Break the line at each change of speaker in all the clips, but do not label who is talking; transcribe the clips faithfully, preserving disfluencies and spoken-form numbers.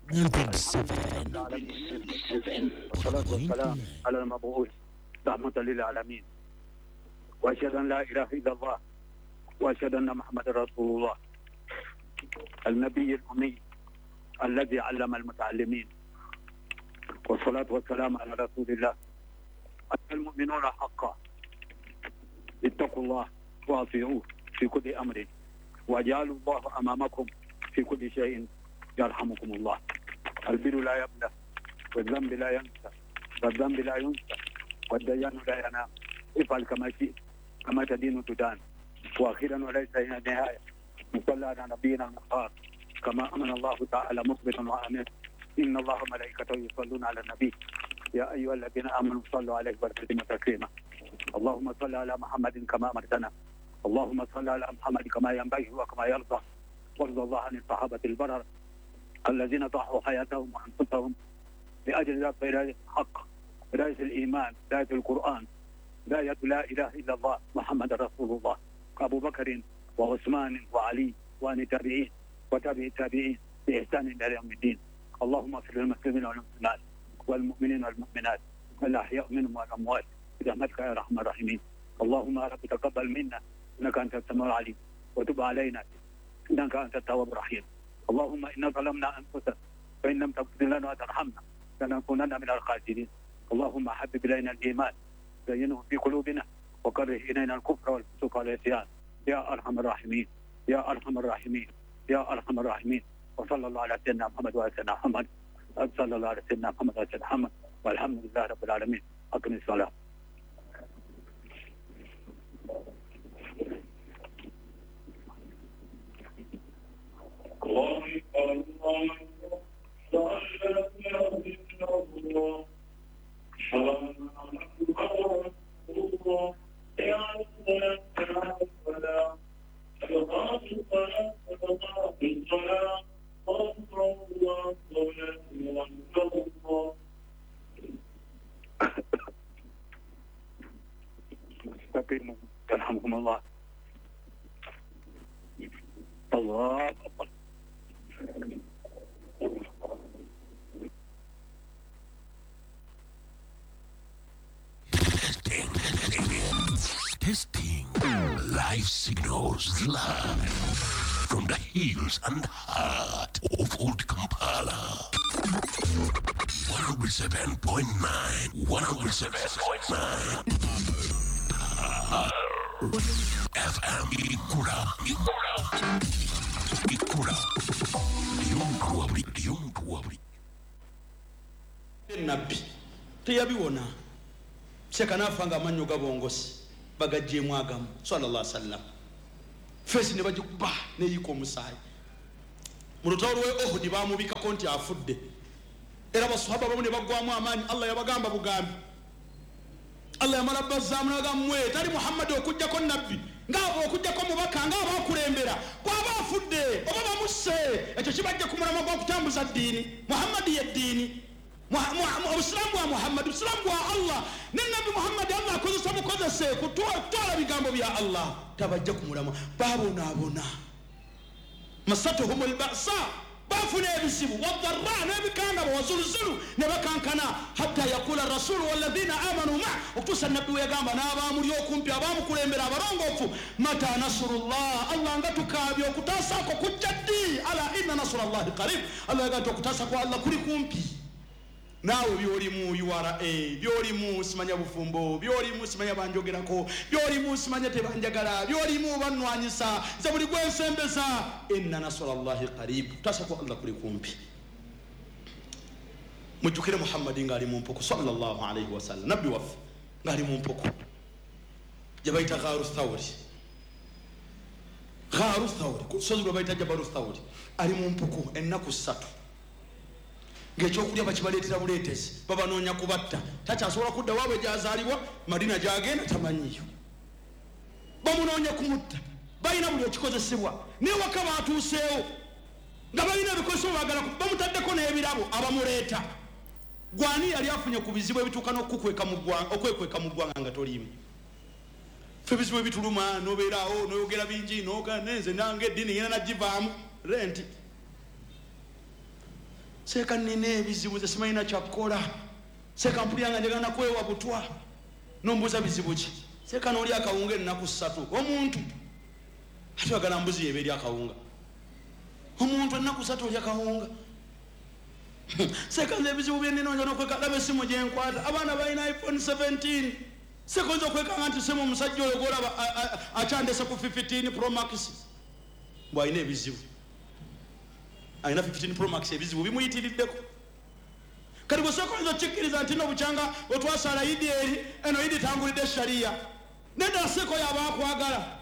والصلاة والسلام على المبعوث رحمة للعالمين، وأشهد أن لا إله إلا الله وأشهد أن محمد رسول الله النبي الأمي الذي علم المتعلمين، والصلاة والسلام على رسول الله. المؤمنون حقا، اتقوا الله وأطيعوه في كل أمر، واجعلوا الله أمامكم في كل شيء يرحمكم الله. البر لا يبلى، والذنب لا ينسى، والذنب لا ينسى، والديان لا ينام. افعل كما شئت كما تدين تدان. واخيرا وليس هنا نهايه، نصلي على نبينا المختار كما امن الله تعالى مخبرا وامنا: ان الله وملائكته يصلون على النبي يا ايها الذين امنوا صلوا عليه وسلموا تسليما. اللهم صل على محمد كما امرتنا، اللهم صل على محمد كما ينبغي وكما يرضى، وارض الله عن الصحابه البرر الذين ضحوا حياتهم وانفسهم لاجل رايه الحق، رايه الايمان، رايه القران، رايه لا اله الا الله محمد رسول الله، ابو بكر وعثمان وعلي وعن التابعين وتابع التابعين باحسان الى يوم الدين. اللهم اغفر للمسلمين والمسلمات والمؤمنين والمؤمنات الاحياء منهم والاموات برحمتك يا ارحم الراحمين. اللهم يا رب تقبل منا انك انت السميع العليم، وتب علينا انك انت التواب الرحيم. اللهم انا ظلمنا انفسنا فان لم تغفر لنا وترحمنا لنكونن من الخاسرين. اللهم حبب الينا الايمان زينه في قلوبنا وكره الينا الكفر والفسوق والعصيان يا ارحم الراحمين، يا ارحم الراحمين، يا ارحم الراحمين. وصلى الله على سيدنا محمد وعلى سيدنا محمد، صلى الله على سيدنا محمد وعلى سيدنا محمد، والحمد لله رب العالمين. اقم الصلاه.
الله الله
استقيموا يرحمكم الله. الله أكبر.
Testing, testing. Life signals live from the hills and heart of Old Kampala. one oh seven point nine, one oh seven point nine. F M Ikura, Ikura, Ikura.
Nabbi teyabiwona sekanaafa nga amannyo gabongosi bagaggyemu agamu sallallahu alaihi wasallam, feesi ne bagikuba neyiika omusaayi. Mu lutalo lw'e Uhudi baamubikako nti afudde, era basahaba bamu ne baggwamu amaanyi. Allah yabagamba bugambi, Allah yamala bazzaamu n'agamba, tali Muhammadi okuggyako nabbi ng'abo okuggyako mubaka ng'abo akulembera bw'aba afudde oba bamusse, ekyo kibajja ku mulamwa gw'okutambuza ddiini. Muhammadi ye ddiini, obusiraamu bwa Muhammadi busiraamu bwa Allah, ne nabbi Muhammadi Allah akozesa mukozese kutwala bigambo bya Allah, tabajja ku mulamwa. Babonaabona masatuhum alba'sa, bafuna ebizibu wadharra n'ebikangabo wazuluzulu ne bakankana, hatta yakula rasulu walladhina amanu ma, okutuusa nabbi we yagamba n'abaamuli okumpi abaamukulembera abalongoofu, mata nasrullah, Allah nga tukaabye okutaasako kujja ddi? Ala inna nasrullahi qarib, Allah yagamba nti okutaasa kwa Allah kuli kumpi. Naawe byolimu U R A, byolimu simanya bufumbo, byolimu simanya banjogerako, byolimu simanya tebanjagala, byolimu bannwanyisa, nze buli gwensembeza, inna nasrullahi qarib, kutaasa kwa Allah kuli kumpi. Mujjukire Muhammadi ng'ali mu mpuku sallallahu alaihi wasallam, nabbi waffe ng'ali mu mpuku gye bayita Gharu Thawri, Gharu Thawri, ku lusozi lwe bayita Jabalu Thawri, ali mu mpuku ennaku ssatu ng'ekyokulya bakibaleetera buleetezi, babanoonya kubatta, takyasobola kudda waabwe gy'azaalibwa, Madina gy'agenda tamanyiyo, bamunoonya kumutta, balina buli ekikozesebwa, naye waka baatuuseewo nga balina ebikozesebwa baagala, bamutaddeko n'ebirabo abamuleeta. Gwani yali afunye ku bizibu ebituuka n'okukweka mu ggwanga, okwekweka mu ggwanga nga toliimu? Ffe ebizibu ebituluma n'obeeraawo n'oyogera bingi n'ogaa nenze nange eddiini ngenda nagivaamu renti. Seeka nina ebizibu nze simanyina kyakukola. Seeka mpulira nga njagala nakwewa butwa. Nombuuza bizibu ki? Seeka n'oli akawunga ennaku ssatu. Omuntu ate oyagala mbuzi yeba eri akawunga. Omuntu ennaku ssatu oli akawunga. Seeka nze ebizibu bye nnina oyinza n'okweka laba essimu gye nkwata. Abaana balina iPhone seventeen. Seeka oyinza okwekanga nti simu omusajja oyo gw'olaba akyandese ku fifteen Pro Max. Mbw alina ebizibu. Alina fifteen Pro Max ebizibu bimuyitiriddeko. Kati bwe sooka oyinza okkikkiriza nti nno bukyanga otwasala Idi eri eno Idi tangulidde sharia. Nedda seeka oyo aba akwagala.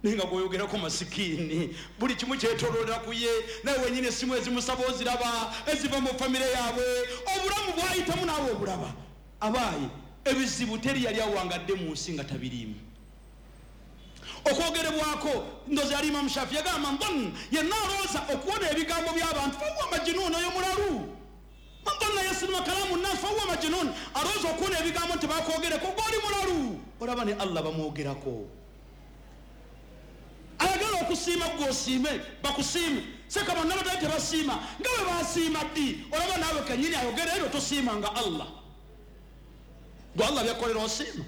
Naye nga gw'oyogerako masikiini buli kimu kyetooloolera ku ye, naye wennyini essimu ezimusaba oziraba eziva mu famire yaabwe, obulamu bw'ayitamu naawe obulaba. Abaayi ebizibu teri yali awangadde mu nsi nga tabiriimu. Okwogerebwako ndozi yali Imamu Shafi yagamba man yenna alowooza okuwona ebigambo by'abantu fahuwa majnuun, oyo mulalu. Man dhanna yasma kalaamu nnaasi fahuwa majnuun, alowooza okuwona ebigambo nti bakwogereko gw'oli mulalu. Olaba ne Allah bamwogerako. Ayagala okusiima gw'osiime bakusiime. Seeka bonna batali tebasiima nga bwe basiima ddi? Olaba naawe kennyini ayogera ebyo tosiima nga Allah. Gwe Allah byakolera osiima.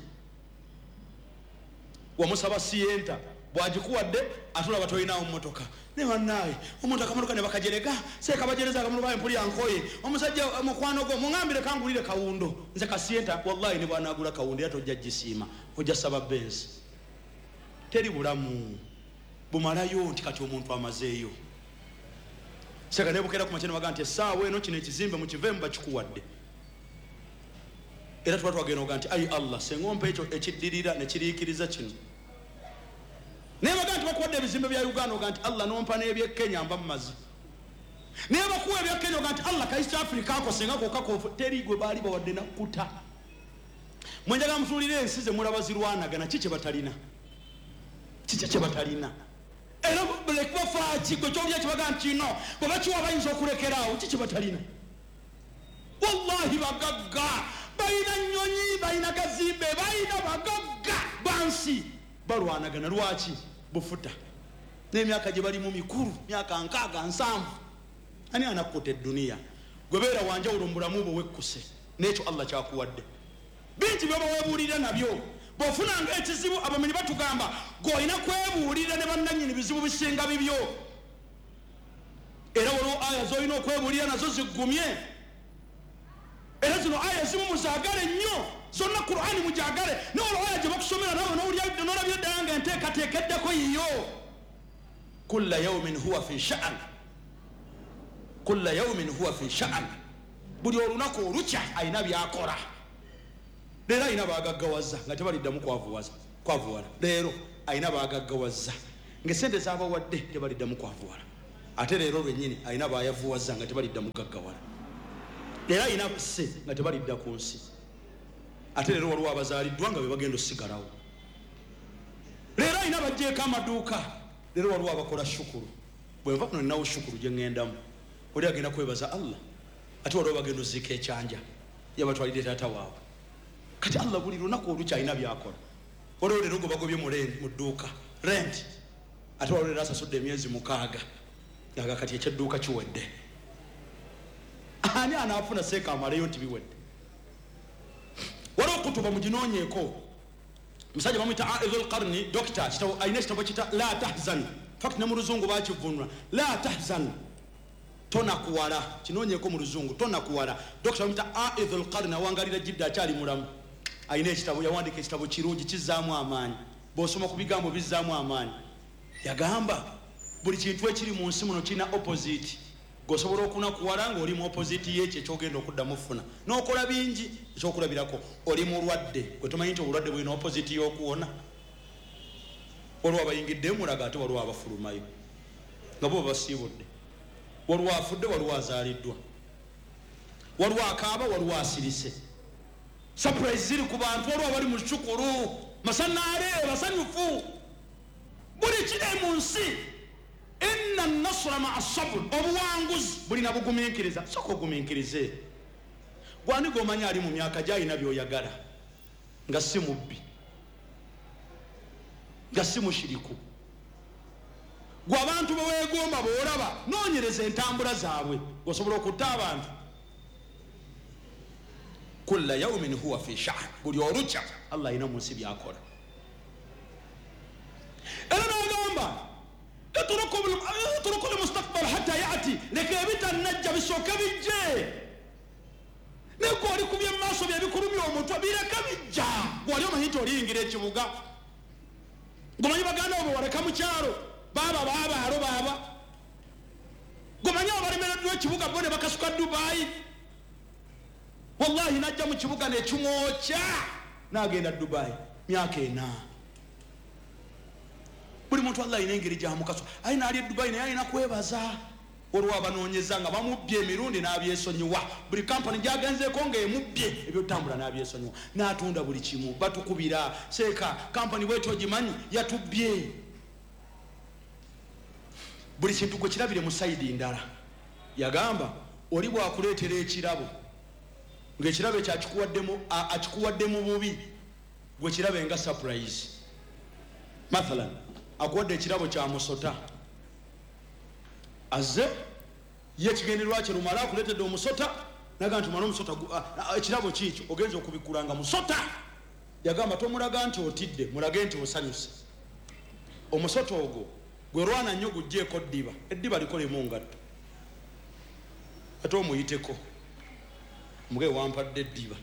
Wamusaba siyenta bw'agikuwadde ate olaba tolinawo mmotoka. Ne bannaaye omuntu akamotoka ne bakajerega, seeka bajereza akamotoka empulira nkoye. Omusajja mukwano gwo muŋambire kangulire kawundo. Nze kasiyenta wallahi ne bw'anaagula kawundo era tojja gisiima, ojja saba Benz. Teri bulamu bumalayo nti kati omuntu amazeeyo. Seeka ne bukeera ku makya ne bagamba nti essaawa eno kino ekizimbe mukiveemu bakikuwadde. Era tuba twagenda oga nti ayi Allah senga ompa ekyo ekiddirira ne kiriikiriza kino. Naye baga nti bakuwadde ebizimbe bya Uganda oga nti Allah nompa n'eby'e Kenya mba mumazi. Naye bakuwa ebya Kenya oga nti Allah ka East Africa ako senga kokka kofu teri gwe baali bawadde nakkuta. Mwenjaga mutuulire ensi ze mulaba zirwanagana ki kye batalina? Kiki kye batalina? Era bafaaki gwe kyolya kibaga nti no bwe bakiwa bayinza okulekeraawo ki kye batalina? Wallahi bagagga balina nnyonyi, balina gazimbe, balina bagagga bansi balwanagana. Lwaki? Bufuta n'emyaka gye balimu mikulu, myaka nkaaga nsanvu. Ani anakkuta edduniya? Gwe beera wanjawulo mu bulamu bwe wekkuse n'ekyo Allah kyakuwadde. Bingi by'oba weebuulira nabyo. Bw'ofunanga ekizibu abamenyi batugamba gw'olina kwebuulira ne bannannyini bizibu bisinga bibyo. Era waliwo aya z'olina okwebuulira nazo ziggumye. Era zino aya ezimu muzaagale nnyo, zonna Kur'ani mugyagale. Naye olwo aya gye bakusomera naawe n'olabira ddala nga enteekateeka eddako yiyo. Kulla yawmin huwa fi sha'an, kulla yawmin huwa fi sha'an. Buli olunaku olukya alina by'akola. Leero alina baagaggawaza nga tebaliddamu kwavuwaza kwavuwala. Leero alina baagaggawaza ng'essente z'abawadde tebaliddamu kwavuwala. Ate leero lwennyini alina baayavuwaza nga tebaliddamu gaggawala. Leero alina basse nga tebalidda ku nsi. Ate leero waliwo abazaaliddwa nga be bagenda osigalawo. Leero alina baggyeko amaduuka. Leero waliwo abakola shukuru. Bwe nva kuno ninawo shukuru gye ŋŋendamu. Oli agenda kwebaza Allah. Ate waliwo bagenda oziika ekyanja yabatwalidde taata waabwe. Kati Allah buli lunaku olukya alina by'akola. Waliwo leero gwe bagobye mu dduuka rent. Ate waliwo leero asasudde emyezi mukaaga nga kati ekyedduuka kiwedde. Ani anaafuna seeka amaleyo nti biwedde? Waliwo kutuba muginoonyeeko. Musajja bamuyita Aidhul Qarni, dokita, alina ekitabo kiyita La Tahzan. Fact ne mu luzungu baakivvuunula La Tahzan, tonakuwala. Kinoonyeeko mu luzungu tonakuwala. Dokita bamuyita Aidhul Qarni, awangalira Jidda akyali mulamu. Alina ekitabo, yawandiika ekitabo kirungi kizzaamu amaanyi. Bw'osoma ku bigambo bizzaamu amaanyi. Yagamba buli kintu ekiri mu nsi muno kirina opposite. Gwosobola okunakuwala ng'oli mu opposite y'ekyo ekyogenda okuddamu ofuna. N'okola bingi. Ekyokulabirako oli mulwadde, gwe tomanyi nti obulwadde bulina opposite y'okuwona. Waliwo abayingidde mulaga ate waliwo abafulumayo nga bo babasiibudde. Waliwo afudde, waliwo azaaliddwa, waliwo akaaba, waliwo asirise. Surprise ziri ku bantu, waliwo abali mu shukuru masanaale basanyufu. Buli kiri mu nsi inna nasra ma'a sabr, obuwanguzi bulina bugumiikiriza. Sooka ogumiikirize. Gwani gw'omanyi ali mu myaka gy'alina by'oyagala nga si mubbi, nga si mushiriku. Gwe abantu beweegomba boolaba noonyereza entambula zaabwe, osobola okutta abantu. Kulla yaumin huwa fi sha'n, buli olukya Allah alina mu nsi byakola. Era n'agamba etruku lmustakbal hatta yati, leka ebitannajja bisooke bijje. Naye gwe oli kubye mu maaso byebikulumya omutwe, bireka bijja. Gwe wali omanyi nti oliyingira ekibuga, gomanyi baganda bo waleka mu kyalo, baaba baabaalo baaba, gomanyi abalemereddwa ekibuga bo ne bakasuka Dubai. Wallahi najja mu kibuga nekimwokya n'agenda Dubai myaka ena. Buli muntu Allah alina engeri gyamukaso. Alina ali e Dubai naye alina kwebaza. Waliwo abanoonyeza nga bamubbye emirundi n'abyesonyiwa. Buli kampani gy'agenzeeko ng'emubbye ebyotambula n'abyesonyiwa, n'atunda buli kimu. Batukubira seeka kampani bwetyo ogimanyi yatubbye. Buli kintu gwe kirabire mu sayidi ndala. Yagamba oli bw'akuleetera ekirabo ng'ekirabo ekyo akikuwadde mu bubi, gwe kirabe nga surprise. Mathalan akuwadde ekirabo kya musota, azze ye ekigendererwa kye lumala akuleetedde omusota, naga nti omala omusota ekirabo kiikyo ogenza okubikkula nga musota. Yagamba tomulaga nti otidde, mulage nti osanyuse. Omusota ogwo gwe lwana nnyo guggyeko ddiba, eddiba likolemu ngatto, ate omuyiteko muge wampadde eddiba.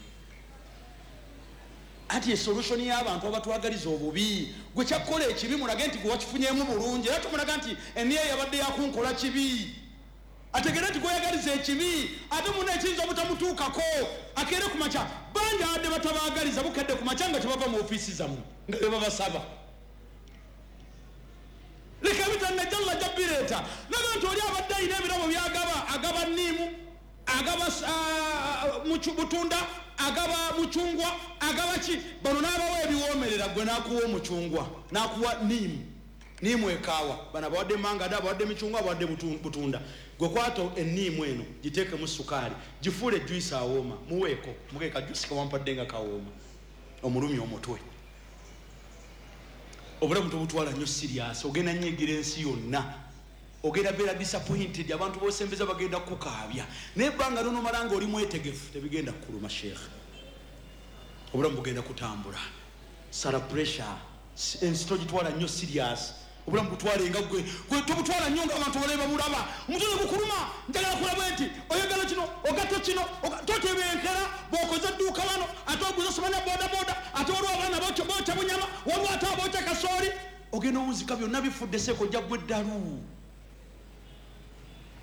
Ati esolution y'abantu abatwagaliza obubi, gwe kyakkola ekibi mulage nti gwe wakifunyeemu bulungi, era tomulaga nti eniye yabadde yakunkola kibi. Ategere nti gweyagaliza ekibi, ate munne ekiyinza obutamutuukako. Akeere ku makya, bangi abadde batabaagaliza bukedde ku makya nga tebava mu ofiisi zammwe nga be babasaba. Leka ebitannajja Allah ajja bireeta. Naga nti oli abadde alina ebirabo by'agaba, agaba nniimu, agaba butunda, agaba mucungwa, agaba ki, bano n'abawa ebiwoomerera, gwe n'akuwa omucungwa, n'akuwa nniimu, nniimu ekaawa. Bano abawadde mangada, abawadde micungwa, abawadde butunda. Gwe kwata enniimu eno giteekemu sukaali, gifuule juice awooma, muweeko muge ka juice kawampadde nga kawooma, omulumya omutwe. Obulamu tobutwala nnyo serious, ogenda nyigira ensi yonna, ogenda beera disappointed, abantu b'osembeza bagenda kukaabya. Naye ebbanga lyonomala nga oli mwetegefu tebigenda kukuluma sheikh. Obulamu bugenda kutambula. Sala pressure, ensi togitwala nnyo serious. Obulamu butwale nga gwe, gwe tobutwala nnyo ng'abantu balabe babulaba. Omutwe ne gukuluma, njagala kulaba nti oyagala kino, ogatta kino, totebenkera, bw'okoze edduuka wano, ate oguze simanya bodaboda, ate waliwo abaana bookya bunyama, waliwo ate abookya kasooli. Ogenda owunzika byonna bifudde seeko ojja gwe eddalu.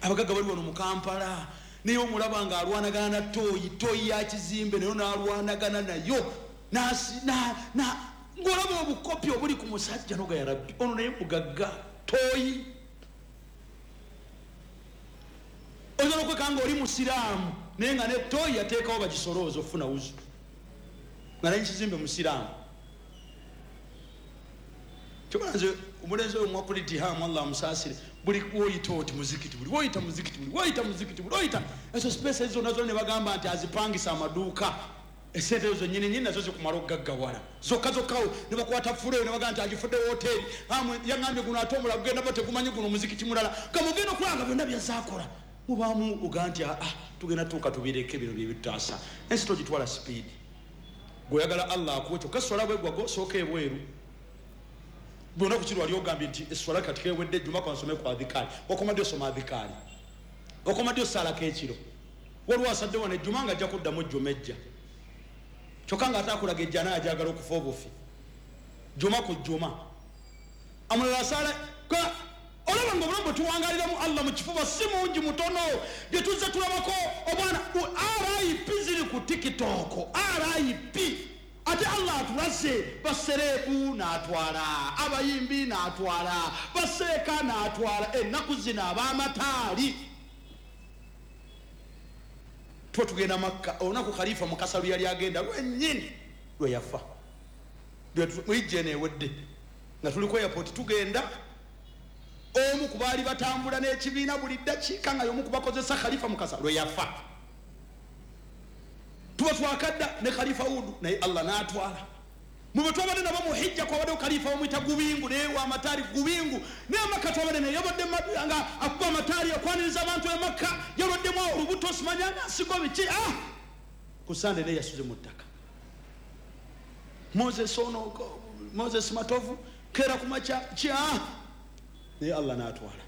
Abagagga bali wano mu Kampala, naye omulaba ng'alwanagana na ttooyi, ttooyi ya kizimbe nayo n'alwanagana nayo, ng'olaba obukopi obuli ku musajja noga ya Rabbi, ono naye mugagga ttooyi. Oyinza n'okweka nga oli musiraamu naye nga ne ttooyi yateekawo bagisolooza okufuna wuzu, nga naye kizimbe musiraamu. Kyokka nze omulenzi oyo mwakulitihamu Allah amusaasire, buli woyita oti muzikiti, buli woyita muzikiti, buli woyita muzikiti, buli woyita ezo space zonna zonna ne bagamba nti azipangisa amaduuka. Esente ezo nnyini nnyini nazo zikumala okugaggawala zokka zokkawo ne bakwata fuleyo ne bagamba nti agifudde woteeri, yaŋŋambye guno ate omulala gugenda bo tegumanyi guno muzikiti mulala, nga mugenda okulaba nga byonna byazaakola. Mubaamu oga nti aa tugenda tuuka tubireke bino bye bitutaasa. Ensi togitwala sipiidi, gweoyagala Allah akuwe kyokka eswala bwegwa sooka ebweru. Bwona ku kiri wali ogambye nti eswala kati kewedde ejjuma kansome ku adhikaari, wakomadde osoma adhikaari, wakomadde osaalako ekiro. Waliwo asadde wano ejjuma nga ajja kuddamu ejjuma ejja, kyokka ng'ate akulaga ejja naye ajagala okufa obufi jjuma ku jjuma. Amulala asaala olaba nga obulamu bwe tuwangaaliramu Allah mu kifuba si mungi mutono. Bye tuzze tulabako obwana R I P ziri ku TikTok, R I P. Ate Allah atulaze baserebu n'atwala, abayimbi n'atwala, baseeka n'atwala, ennaku zino ab'amataali. Tuba tugenda Makka, olunaku Khalifa Mukasa lwe yali agenda lwennyini lwe yafa. Muyijja eno ewedde nga tuli ku airport tugenda, omu ku baali batambula n'ekibiina buli ddakiika nga y'omu ku bakozesa Khalifa Mukasa lwe yafa. Tuba twakadda ne Khalifa Wudu naye Allah n'atwala. Mu twabadde nabo mu hijja kwabaddewo kalifa bamuyita Gubingu, naye wa mataali Gubingu. Naye Makka twabadde naye, yabadde nga akuba amataali akwaniriza abantu e Makka, yalwaddemu olubuto simanya nasigo biki. Ah, ku Sande naye yasuze mu ttaka. Moses ono, Moses Matovu kera ku makya ki, ah, naye Allah n'atwala.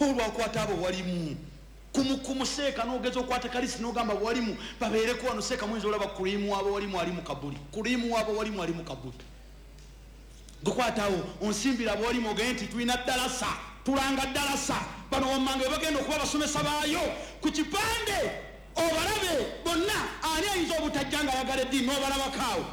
Olwakwata abo walimu kumukumu seeka n'ogeza okwata kalisi n'ogamba walimu babeereko wano seeka muyinza olaba kurimu abo walimu ali mu kabuli, kurimu abo walimu ali mu kabuli. Gukwatawo onsimbira abo walimu ogende nti tulina ddalasa, tulanga ddalasa, bano wammanga bagenda okuba abasomesa baayo ku kipande obalabe bonna. Ani ayinza obutajja nga ayagala eddiini n'obalabako awo?